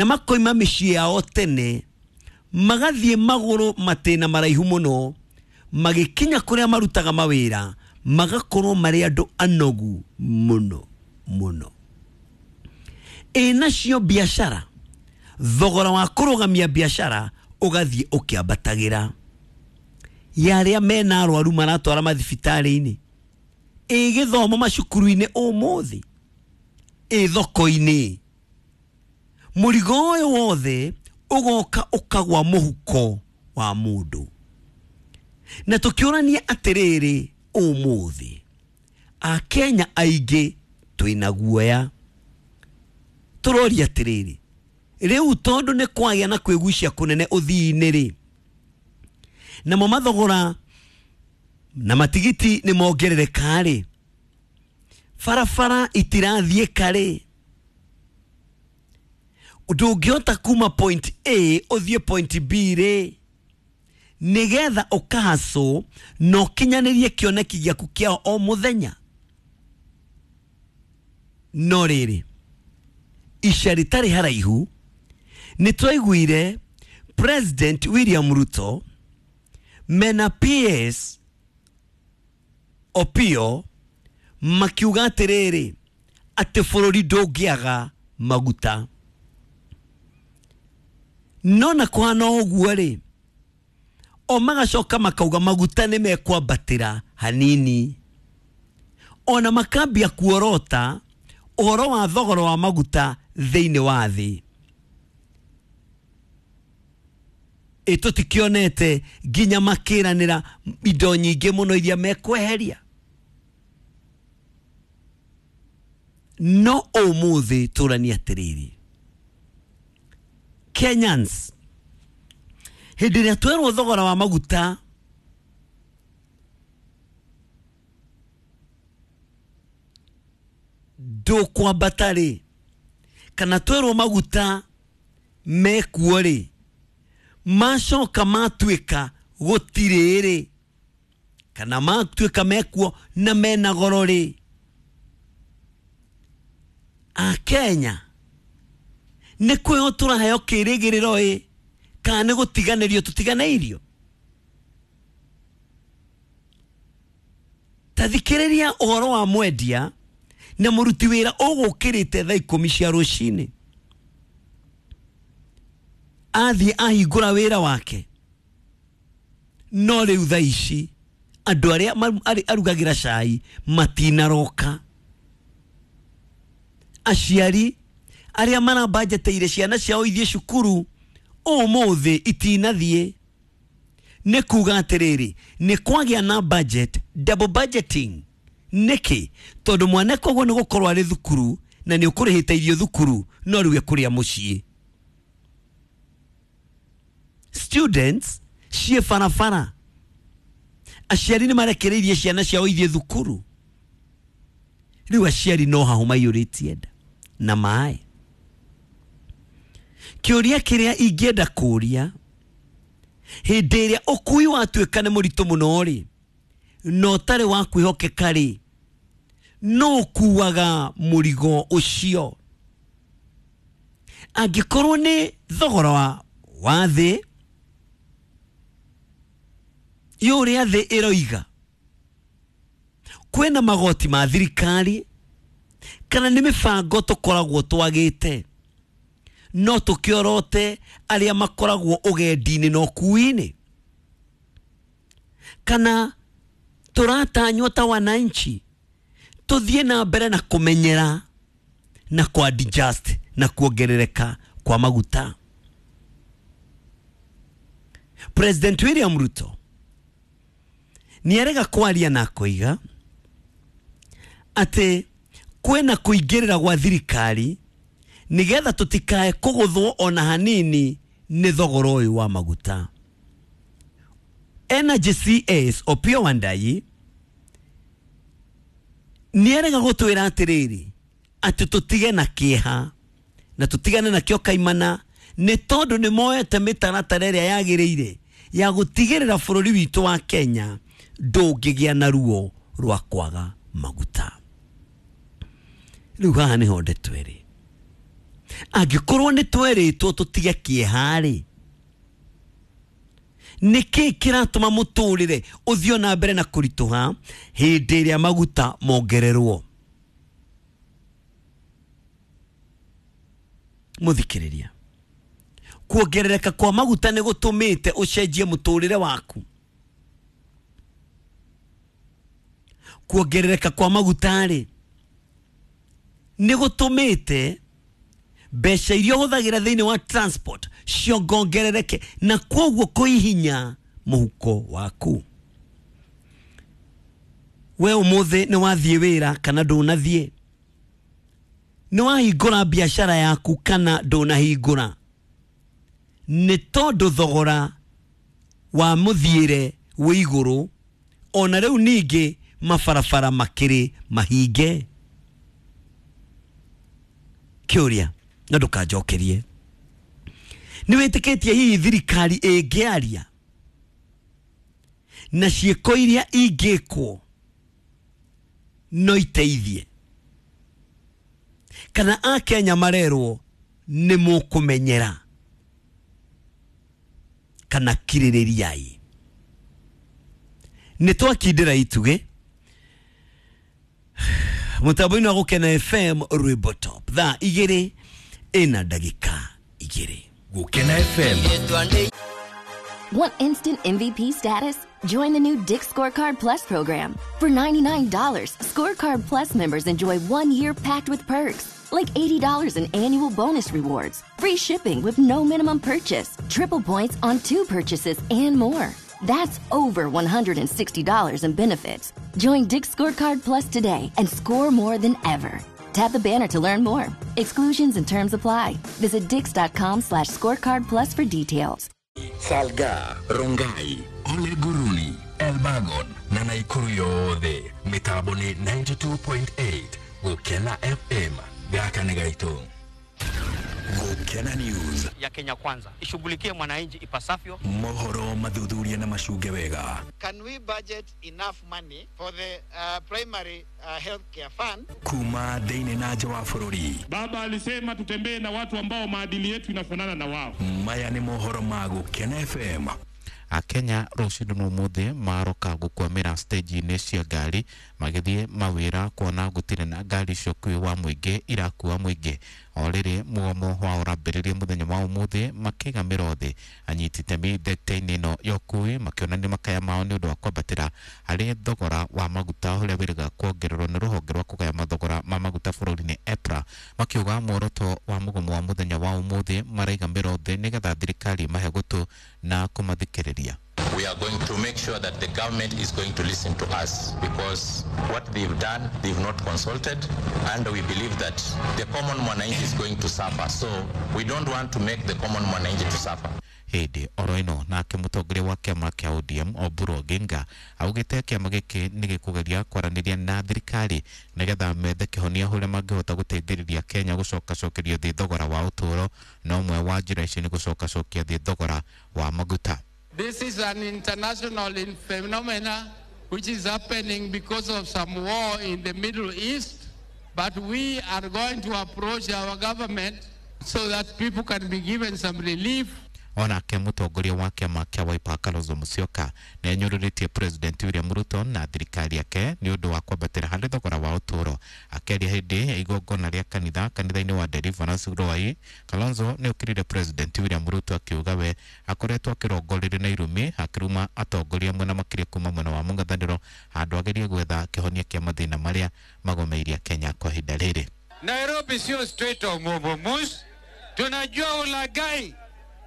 Na makoima mĩciĩ yao tene, magathiĩ magũrũ matĩna maraihu mũno, magĩkinya kũrĩa marutaga mawĩra magakorwo marĩ andũ anogu mũno mũno. Ĩ nacio biacara, thogora wa kũrũgamia biacara ũgathiĩ ũkĩambatagĩra. Ya arĩa mena arwaru maratwara mathibitarĩ-inĩ, ĩ gĩthomo macukuru-inĩ ũmũthĩ, ĩ thoko-inĩ, mũrigo ũyũ wothe ũgoka ũkagwa mũhuko wa mũndũ. Na tũkĩũrania atĩrĩrĩ, ũmũthĩ Akenya aingĩ twĩna guoya, tũroria atĩrĩrĩ, rĩu tondũ nĩ kwagĩa na kwĩgucia kũnene ũthii-inĩ rĩ, namo mathogora na matigiti nĩ mongerereka rĩ, barabara itirathiĩka rĩ, ndũngĩhota kuma point A ũthiĩ point B rĩ, nĩgetha ũkahacũ na ũkinyanĩrie kĩoneki gĩaku kĩa o mũthenya. No rĩrĩ, ica rĩtarĩ haraihu nĩ twaiguire President William Ruto mena PS Opio makiuga atĩrĩrĩ, atĩ bũrũri ndũngĩaga maguta. No na kũhana ũguo rĩ, o magacoka makauga maguta nĩ mekwambatĩra hanini, ona makambia kuorota ũhoro wa thogora wa maguta thĩinĩ wa thĩ. Ĩ tũtikĩonete nginya makĩranĩra indo nyingĩ mũno iria mekweheria. No ũmũthĩ tũranie atĩrĩrĩ, Kenyans, hĩndĩ ĩrĩa twerwo thogora wa maguta ndũkwambata rĩ, kana twerwo maguta mekuo rĩ, macoka matuĩka gũtirĩ rĩ, kana matuĩka mekuo na mena goro rĩ, Akenya nĩ kwĩho tũraheo kĩrĩgĩrĩro ĩ, kana nĩ gũtiganĩrio tũtiganĩirio? Ta thikĩrĩria ũhoro wa mwendia na mũruti wĩra ũgũkĩrĩte thaa 10 cia rũcinĩ, athiĩ ahingũra wĩra wake, no rĩu thaa ici andũ arĩa arugagĩra cai matinaroka. Aciari arĩa marambanjeteire ciana ciao ithiĩ cukuru ũmũthĩ itinathiĩ. Nĩ kuga atĩrĩrĩ, nĩ kwagĩa na budget, double budgeting. Nĩkĩ? Tondũ mwana koguo nĩ gũkorwo arĩ thukuru na nĩ ũkũrĩhĩte irio thukuru, no rĩu ekũrĩa mũciĩ. Students ciĩ barabara, aciari nĩ marekereirie ciana ciao ithiĩ thukuru, rĩu aciari no hahũ maiyũrĩtie nda na maĩ. Kĩũria kĩrĩa ingĩenda kũria, hĩndĩ ĩrĩa ũkui watuĩka nĩ mũritũ mũno rĩ, na ũtarĩ wa kwĩhokeka rĩ, no ũkuaga mũrigo ũcio? Angĩkorwo nĩ thogora wa thĩ, yũrĩa thĩ ĩroiga, kwĩna magoti ma thirikari, kana nĩ mĩbango tũkoragwo twagĩte, no tũkĩorote arĩa makoragwo ũgendi-inĩ na ũkui-inĩ, kana tũratanywo ta wananchi tũthiĩ na mbere na kũmenyera na kwa adjust na kuongerereka kwa maguta. President William Ruto nĩarega kwaria na akoiga atĩ kwĩna kũingĩrĩra gwa thirikari nĩgetha tũtikae kũgũthwo ona hanini nĩ thogora ũyũ wa maguta. Energy CS Opiyo Wandayi nĩarega gũtwĩra atĩrĩrĩ, atĩ tũtige na kĩeha na tũtigane nakĩo kaimana, nĩ tondũ nĩ moete mĩtaratara ĩrĩa yagĩrĩire ya gũtigĩrĩra bũrũri witũ wa Kenya ndũngĩgĩa na ruo rwa kwaga maguta. Rĩu haha nĩho ndeto ĩrĩ. Angĩkorwo nĩ twerĩtwo tũtige kĩeha-rĩ, nĩkĩ kĩratũma mũtũrĩre ũthiĩ na mbere na kũritũha hĩndĩ ĩrĩa maguta mongererwo? Mũthikĩrĩria, kuongerereka kwa maguta nĩ gũtũmĩte ũcenjie mũtũrĩre waku. Kuongerereka kwa maguta-rĩ nĩ gũtũmĩte mbeca iria ũhũthagĩra thĩinĩ wa transport ciongongerereke na kwoguo kũhihinya mũhuko waku. We ũmũthĩ nĩ wathiĩ wĩra kana ndũnathiĩ? Nĩ wahingũra biacara yaku kana ndũnahingũra? Nĩ tondũ thogora wa mũthiĩre wĩ igũrũ, ona rĩu ningĩ mabarabara makĩrĩ mahinge. Kĩũria na ndũkanjokerie, nĩ wĩtĩkĩtie hihi thirikari ĩngĩaria na ciĩko iria ingĩkwo no iteithie? Kana akenya marerwo nĩ mũkũmenyera kana kirĩrĩriai? Nĩ twakindĩra itugĩ mũtambo-inĩ wa Gũkena FM Rwĩmbo Top thaa 2:02. Gũkena FM. Want instant MVP status? Join the new Dick's Scorecard Plus program. For $99, Scorecard Plus members enjoy 1 year packed with perks, like $80 in annual bonus rewards, free shipping with no minimum purchase, triple points on 2 purchases, and more. That's over $160 in benefits. Join Dick's Scorecard Plus today and score more than ever. Tap the banner to learn more. Exclusions and terms apply. Visit dix.com/scorecard plus for details. Salga, Rongai, Ole Guruni, Elbagon na Naikuru yothe mitambo ni 92.8 Gũkena FM. Gaka nĩ gaitũ. Gũkena News ya Kenya Kwanza ishughulikie mwananchi ipasavyo. Mohoro mathuthuria na macunge wega. Can we budget enough money for the primary health care fund? Kuma thĩinĩ na nja wa bũrũri. Baba alisema tutembee na watu ambao maadili yetu inafanana na wao. Maya nĩ mohoro ma Gũkena FM. Akenya rũcinĩ na ũmũthĩ maroka gũkwamĩra stage-inĩ cia ngari magĩthiĩ mawĩra kuona gũtirĩ na ngari cia ũkuui wa mũingĩ irakua mũingĩ. O rĩrĩ mũgomo wao ũrambĩrĩria mũthenya wa ũmũthĩ makĩiga mĩro thĩ anyiti itemi thekta-inĩ ĩno ya ũkuui makĩonania makaya mao nĩ ũndũ wa kwambatĩra harĩ thogora wa maguta ũrĩa wĩrĩga kuongererwo nĩ rũhonge rwa kũgaya mathogora ma maguta bũrũri-inĩ EPRA, makiuga muoroto wa mũgomo wa mũthenya wa ũmũthĩ maraiga mĩro thĩ nĩgetha thirikari mahe gũtũ na kũmathikĩrĩria. We are going to make sure that the government is going to listen to us, because what they've done, they've not consulted, and we believe that the common mwananchi is going to suffer. So we don't want to make the common mwananchi to suffer. Hĩndĩ oro ĩno nake mũtongoria wa kĩama kĩa ODM Oburu Oginga augĩte kĩama gĩkĩ nĩ gĩkũgeria kwaranĩria na thirikari nĩgetha methe kĩhonia ũrĩa mangĩhota gũteithĩrĩria Kenya gũcokacokerio thĩ thogora wa ũtũũro, na ũmwe wa njĩra ici nĩ gũcokacokia thĩ thogora wa maguta. This is an international phenomena which is happening because of some war in the Middle East, but we are going to approach our government so that people can be given some relief. Onake mũtongoria wa kĩama kĩa Wiper Kalonzo Musyoka nĩ anyũrũrĩtie President William Ruto na thirikari yake nĩ ũndũ wa kwambatĩra harĩ thogora wa ũtũũro. Akĩaria hĩndĩ ya igongona rĩa kanitha kanitha-inĩ wa Deliverance Ruai, Kalonzo nĩ okĩrire President William Ruto akiuga we akoretwo akĩrongorerio na irumi akĩruma atongoria amwe na makĩria kuma mwena wa mũng'ethanĩro handũ agerie gwetha kĩhonia kĩa mathĩna marĩa magomeirie Kenya kwa ihinda rĩrĩ. Nairobi sio Strait of Hormuz, tunajua ulaghai,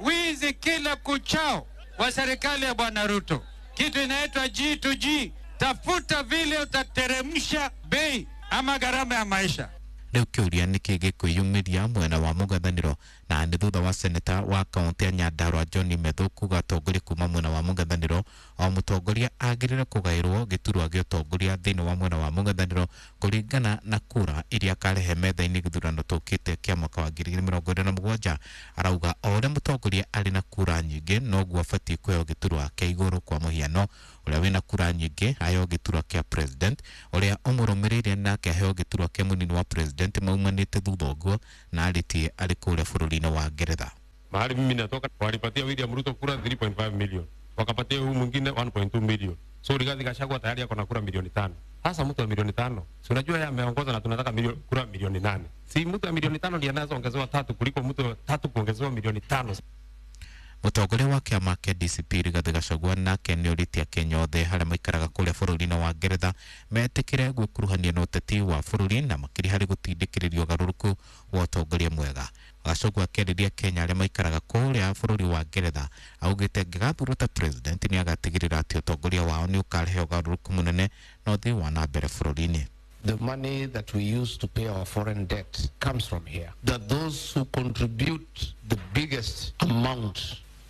wizi kila kuchao wa serikali ya Bwana Ruto. Kitu inaitwa G2G, tafuta vile utateremsha bei ama gharama ya maisha. Rĩu kĩũria nĩkĩ gĩkwĩyumĩria mwena wa mũng'ethanĩro, na nĩ thutha wa seneta wa kaũntĩ ya Nyandarua John Methu kuga atongoria kuma mwena wa mũng'ethanĩro o mũtongoria agĩrĩire kũgaĩrwo gĩturwa gĩa ũtongoria thĩinĩ wa mwena wa mũng'ethanĩro kũringana na kura iria akarehe metha-inĩ gĩthurano tũkĩte kĩa mwaka wa 2027. Arauga o ũrĩa mũtongoria arĩ na kura nyingĩ noguo abatiĩ kũheo gĩturwa kĩa igũrũ. Kwa mũhiano, ũrĩa wĩna kura nyingĩ aheo gĩturwa kĩa president, ũrĩa ũmũrũmĩrĩire nake aheo gĩturwa kĩa mũnini wa president, president maumanĩte thutha ũguo na arĩtie arĩ kũrĩa bũrũri-inĩ wa Ngeretha. Mahali mimi natoka walipatia William Ruto kura 3.5 million, wakapatia huyu mwingine 1.2 million. So Rigathi Gachagua tayari ako na kura milioni 5. Sasa mtu wa milioni 5, si unajua yeye ameongoza na tunataka kura milioni 8. Si mtu wa milioni 5 ndiye anaweza ongezewa 3 kuliko mtu wa 3 kuongezewa milioni 5. Mũtongoria wa kĩama kĩa DCP Rigathi Gachagua nake nĩorĩtie Akenya othe arĩa maikaraga kũrĩa bũrũri-inĩ wa Ngeretha metĩkĩre gwĩkuruhania na ũteti wa bũrũri na makĩria harĩ gũtindĩkĩrĩria ũgarũrũku wa ũtongoria mwega. Gachagua akĩarĩria Kenya arĩa maikaraga kũrĩa bũrũri wa Ngeretha augĩte angĩgathurwo ta president nĩagatigĩrĩra atĩ ũtongoria wao nĩ ũkarehe ũgarũrũku mũnene na ũthii wa na mbere bũrũri-inĩ. The money that we use to pay our foreign debt comes from here. That those who contribute the biggest amount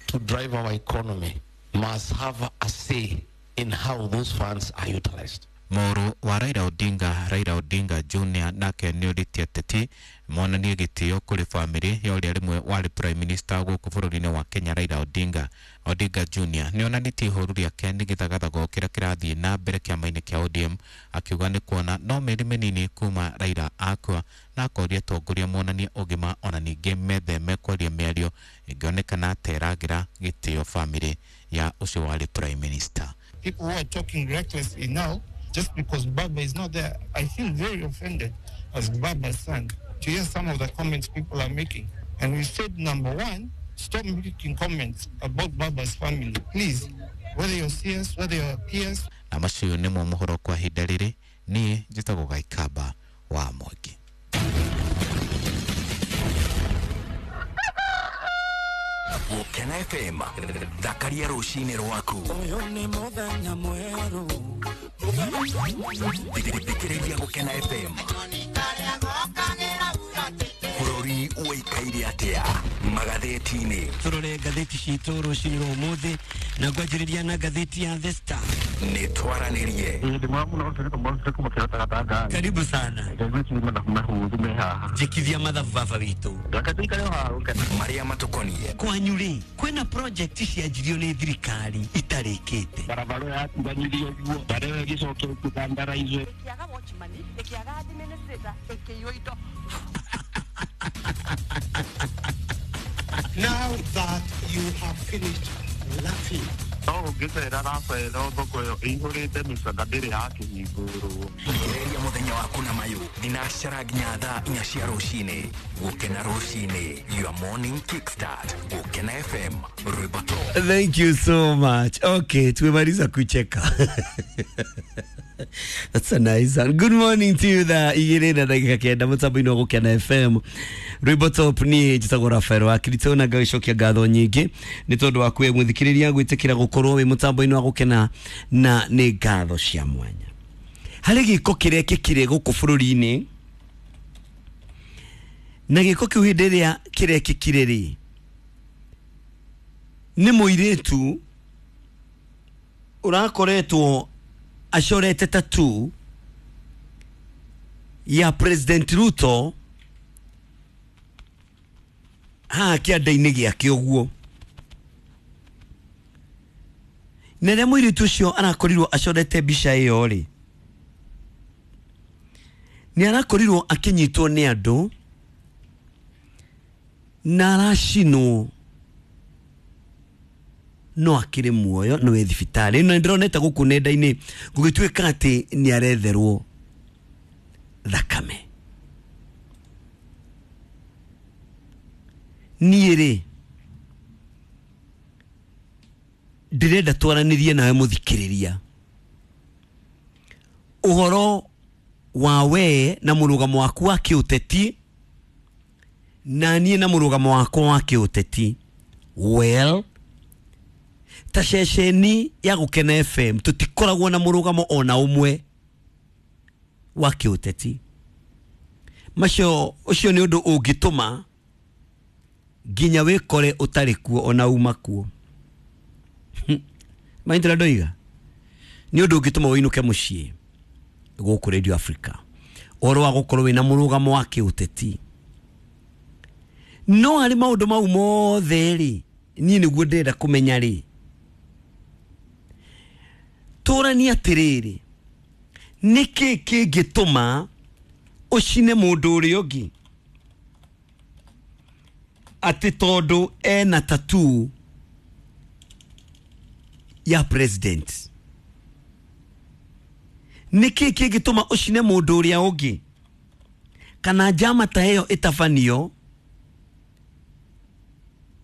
to drive our economy must have a say in how those funds are utilized. Mũrũ wa Raila Odinga, Raila Odinga Junior, nake nĩorĩtie ateti monanie gĩtĩo kũrĩ bamĩrĩ ya ũrĩa rĩmwe warĩ prime minister gũkũ bũrũri-inĩ wa Kenya Raila Odinga. Odinga Junior nĩonanĩtie ihoru rĩake nĩ gĩthagathago kĩrĩa kĩrathiĩ na mbere kĩama-inĩ kĩa ODM, akiuga nĩ kuona no mĩeri mĩnini kuma Raila akua, na akoria atongoria monanie ũgima ona ningĩ metheme kwaria mĩario ĩngĩonekana ta ĩragĩra gĩtĩo bamĩrĩ ya ũcio warĩ prime minister. People who are talking recklessly now just because Baba is not there, I feel very offended as Baba's son to hear some of the comments people are making. And we said, number one, stop making comments about Baba's family. Please, whether you're serious, whether you're PS. Na macio nĩmo mohoro kwa ihinda rĩrĩ, niĩ njĩtagwo Gaikamba wa Mwangi. Gũkena FM, thakaria rũcinĩ rwaku. Ũyũ nĩ mũthenya mwerũ. Thikĩrĩria Gũkena FM. Bũrũri ũikaire atĩa magathĩti-inĩ? Tũrore ngathĩti citũ rũcinĩ rwa ũmũthĩ na ngwanjĩrĩria na ngathĩti ya The Star. Nĩ twaranĩrie. Karibu sana. Njĩkithia mathabu baba witũ. Marĩa matũkoniĩ. Kwanyu rĩ, kwĩna project cianjirio nĩ thirikari itarĩkĩte. Barabara yatiganĩrio ũguo, barabara ĩyo ĩgĩcoka ĩkĩthandaraizwo. Ĩkĩaga watchman, ĩkĩaga administrator, ĩkĩiywo indo. Now that you have finished laughing. No ũngĩcera Rafaela thoko ĩyo ĩihũrĩte mĩcanda ndĩrĩ yakĩhingũrwo. Thikĩrĩria mũthenya waku na mayũ thinacara nginya thaa 4 cia rũcinĩ. Gũkena rũcinĩ, your morning kickstart. Gũkena FM, rwĩmbo top. Thank you so much. Okay, tumemaliza kucheka. That's a nice one. Good morning to you thaa 2:09 mũtambo-inĩ wa Gũkena FM. Rwĩmbo top niĩ njĩtagwo Rafael wa Kirito na ngagĩcokia ngatho nyingĩ nĩ tondũ wa kwĩ mũthikĩrĩria gwĩtĩkĩra gũkorwo wĩ mũtambo-inĩ wa Gũkena, na nĩ ngatho cia mwanya. Harĩ gĩko kĩrekĩkire gũkũ bũrũri-inĩ, na gĩko kĩu hĩndĩ ĩrĩa kĩrekĩkire rĩ, nĩ mũirĩtu ũrakoretwo acorete tattoo ya President Ruto haha kĩanda-inĩ gĩake ũguo. Na rĩrĩa mũirĩtu ũcio arakorirwo acorete mbica ĩyo rĩ, nĩ arakorirwo akĩnyitwo nĩ andũ na aracinwo, no akĩrĩ muoyo, no wĩ thibitarĩ. Na ndĩronete gũkũ nenda-inĩ gũgĩtuĩka atĩ nĩ aretherwo thakame. Niĩ rĩ, ndĩrenda twaranĩrie nawe mũthikĩrĩria ũhoro wa we na mũrũgamo waku wa kĩũteti, na niĩ na mũrũgamo wakwa wa kĩũteti. Well, ta ceceni ya Gũkena FM tũtikoragwo na mũrũgamo ona ũmwe wa kĩũteti. Macio ũcio nĩ ũndũ ũngĩtũma nginya wĩkore ũtarĩ kuo ona uma kuo. Maindra ndoiga nĩ ũndũ ũngĩtũma ũinũke mũciĩ gũkũ Radio Africa ũhoro wa gũkorwo wĩna mũrũgamo wa kĩũteti. No harĩ maũndũ mau mothe rĩ, niĩ nĩguo ndĩrenda kũmenya rĩ, tũranie atĩrĩrĩ, nĩkĩ kĩngĩtũma Ũcine mũndũ ũrĩa ũngĩ atĩ tondũ ena tattoo ya president? Nĩkĩ kĩngĩtũma ũcine mũndũ ũrĩa ũngĩ, kana njama ta ĩyo ĩtabanio,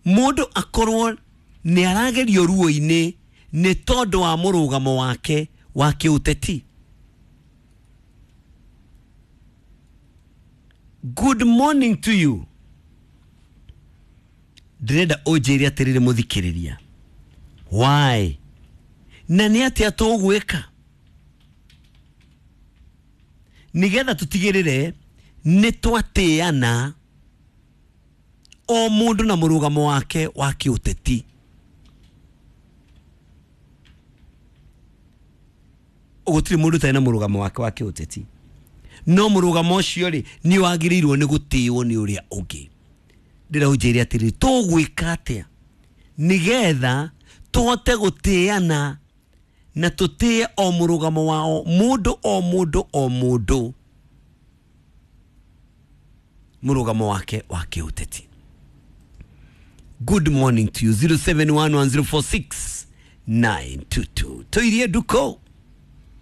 mũndũ akorwo nĩ aragerio ruo-inĩ nĩ tondũ wa mũrũgamo wake wa kĩũteti? Good morning to you. Ndĩrenda ũnjĩre atĩrĩrĩ, mũthikĩrĩria, why na nĩ atĩa tũgwĩka nĩgetha tũtigĩrĩre nĩ twatĩana o mũndũ na mũrũgamo wake wa kĩũteti? Gũtirĩ mũndũ ũtarĩ na mũrũgamo wake wa kĩũteti, no mũrũgamo ũcio rĩ, nĩ wagĩrĩirwo nĩ gũtĩo nĩ ũrĩa ũngĩ. Ndĩra ũnjĩre atĩrĩrĩ, tũgwĩka atĩa nĩgetha tũhote gũtĩana na tũtĩe o mũrũgamo wao mũndũ, o mũndũ, o mũndũ mũrũgamo wake wa kĩũteti? Good morning to you. 0711046922. Tũirie nduko.